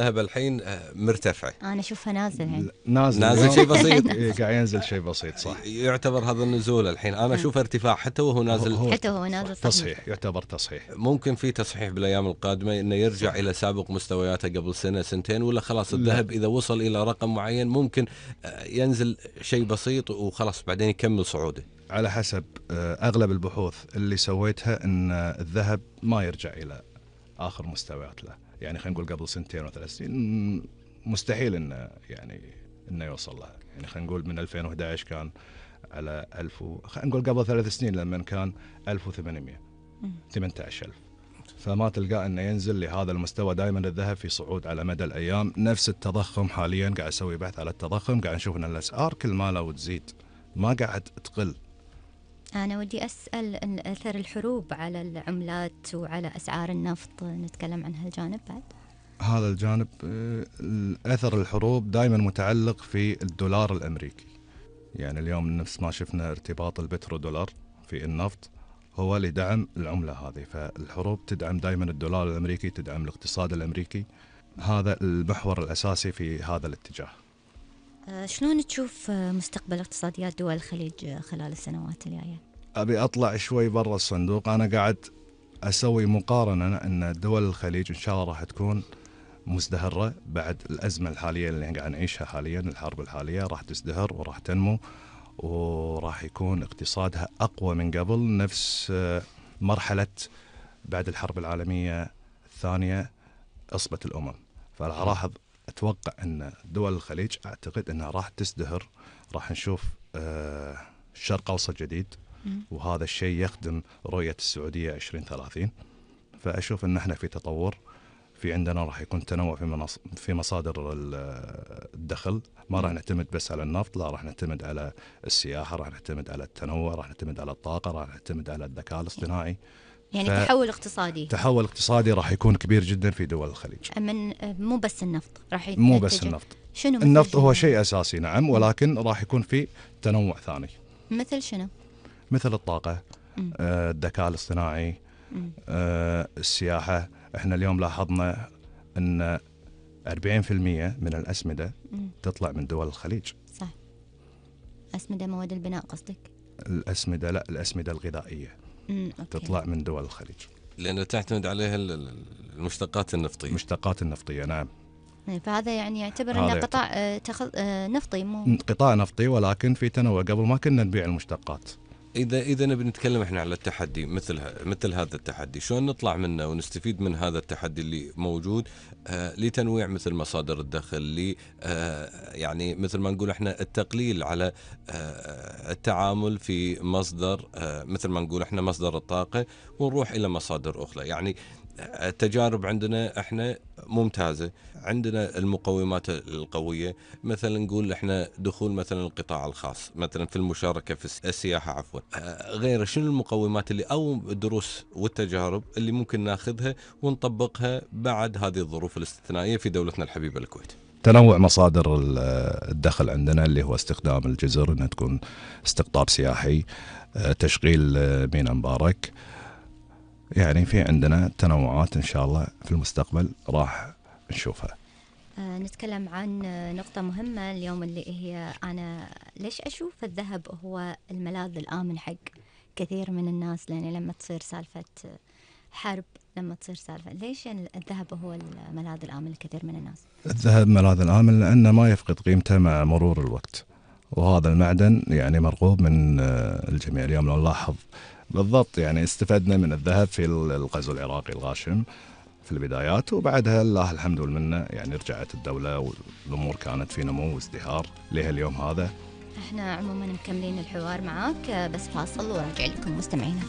الذهب الحين مرتفع. أنا أشوفها نازل يعني. نازل نازل شيء بسيط. إيه، قاعد ينزل شيء بسيط صح. يعتبر هذا النزول الحين أنا أشوف ارتفاع حتى وهو نازل. حتى هو نازل تصحيح، يعتبر تصحيح. ممكن في تصحيح بالأيام القادمة إنه يرجع إلى سابق مستوياته قبل سنة سنتين، ولا خلاص الذهب إذا وصل إلى رقم معين ممكن ينزل شيء بسيط وخلاص بعدين يكمل صعوده. على حسب أغلب البحوث اللي سويتها أن الذهب ما يرجع إلى آخر مستويات له، يعني خلينا نقول قبل سنتين وثلاث سنين مستحيل إنه يوصل لها. يعني خلينا نقول من 2011 كان على 1000 خلينا نقول قبل 3 سنين لما كان 1800 18,000، فما تلقى إنه ينزل لهذا المستوى. دائما الذهب في صعود على مدى الأيام. نفس التضخم حاليا قاعد أسوي بحث على التضخم، قاعد نشوف أن الأسعار كل ما لو تزيد ما قاعد تقل. أنا ودي أسأل أثر الحروب على العملات وعلى أسعار النفط، نتكلم عن هالجانب بعد. هذا الجانب أثر الحروب دائما متعلق في الدولار الأمريكي. يعني اليوم نفس ما شفنا ارتباط البترودولار في النفط هو لدعم العملة هذه، فالحروب تدعم دائما الدولار الأمريكي، تدعم الاقتصاد الأمريكي. هذا المحور الأساسي في هذا الاتجاه. شلون تشوف مستقبل اقتصاديات دول الخليج خلال السنوات الجاية؟ أبي أطلع شوي برا الصندوق. أنا قاعد أسوي مقارنة أن دول الخليج إن شاء الله راح تكون مزدهرة بعد الأزمة الحالية اللي قاعد نعيشها حاليا. الحرب الحالية راح تزدهر وراح تنمو وراح يكون اقتصادها أقوى من قبل، نفس مرحلة بعد الحرب العالمية الثانية أصبة الأمم. فراح أتوقع أن دول الخليج أعتقد أنها راح تزدهر، راح نشوف شرق أوسط جديد، وهذا الشيء يخدم رؤية السعودية 2030. فأشوف أن احنا في تطور. في عندنا راح يكون تنوع في مصادر الدخل. ما راح نعتمد بس على النفط، لا راح نعتمد على السياحة، راح نعتمد على التنوع، راح نعتمد على الطاقة، راح نعتمد على الذكاء الاصطناعي. يعني تحول اقتصادي. تحول اقتصادي راح يكون كبير جدا في دول الخليج. من مو بس النفط راح مو بس النفط. شنو النفط هو شيء أساسي نعم، ولكن راح يكون في تنوع ثاني. مثل شنو؟ مثل الطاقة، الذكاء الاصطناعي، السياحة. احنا اليوم لاحظنا ان 40% من الأسمدة تطلع من دول الخليج. صح. أسمدة مواد البناء قصدك؟ الأسمدة لا، الأسمدة الغذائية تطلع من دول الخليج لأنه تعتمد عليها المشتقات النفطية. المشتقات النفطية نعم. فهذا يعني يعتبر أنه قطاع نفطي، مو قطاع نفطي ولكن في تنوع. قبل ما كنا نبيع المشتقات. إذا نبي نتكلم إحنا على التحدي مثل هذا التحدي، شلون نطلع منه ونستفيد من هذا التحدي اللي موجود لتنويع مثل مصادر الدخل، يعني مثل ما نقول إحنا التقليل على التعامل في مصدر، مثل ما نقول إحنا مصدر الطاقة، ونروح إلى مصادر أخرى. يعني التجارب عندنا احنا ممتازة، عندنا المقومات القوية. مثلا نقول احنا دخول مثلا القطاع الخاص مثلا في المشاركة في السياحة عفوا، غير شنو المقومات اللي او الدروس والتجارب اللي ممكن ناخذها ونطبقها بعد هذه الظروف الاستثنائية في دولتنا الحبيبة الكويت. تنوع مصادر الدخل عندنا اللي هو استخدام الجزر انها تكون استقطاب سياحي، تشغيل ميناء مبارك. يعني في عندنا تنوعات إن شاء الله في المستقبل راح نشوفها. نتكلم عن نقطة مهمة اليوم اللي هي أنا ليش أشوف الذهب هو الملاذ الآمن حق كثير من الناس. لأن لما تصير سالفة حرب، لما تصير سالفة ليش الذهب هو الملاذ الآمن لكثير من الناس؟ الذهب ملاذ الآمن لأنه ما يفقد قيمته مع مرور الوقت، وهذا المعدن يعني مرغوب من الجميع. اليوم لو نلاحظ بالضبط يعني استفدنا من الذهب في الغزو العراقي الغاشم في البدايات، وبعدها الله الحمد والمنة يعني رجعت الدولة والأمور كانت في نمو وازدهار لها اليوم هذا. احنا عموما مكملين الحوار معاك، بس فاصل وراجع لكم مستمعينا.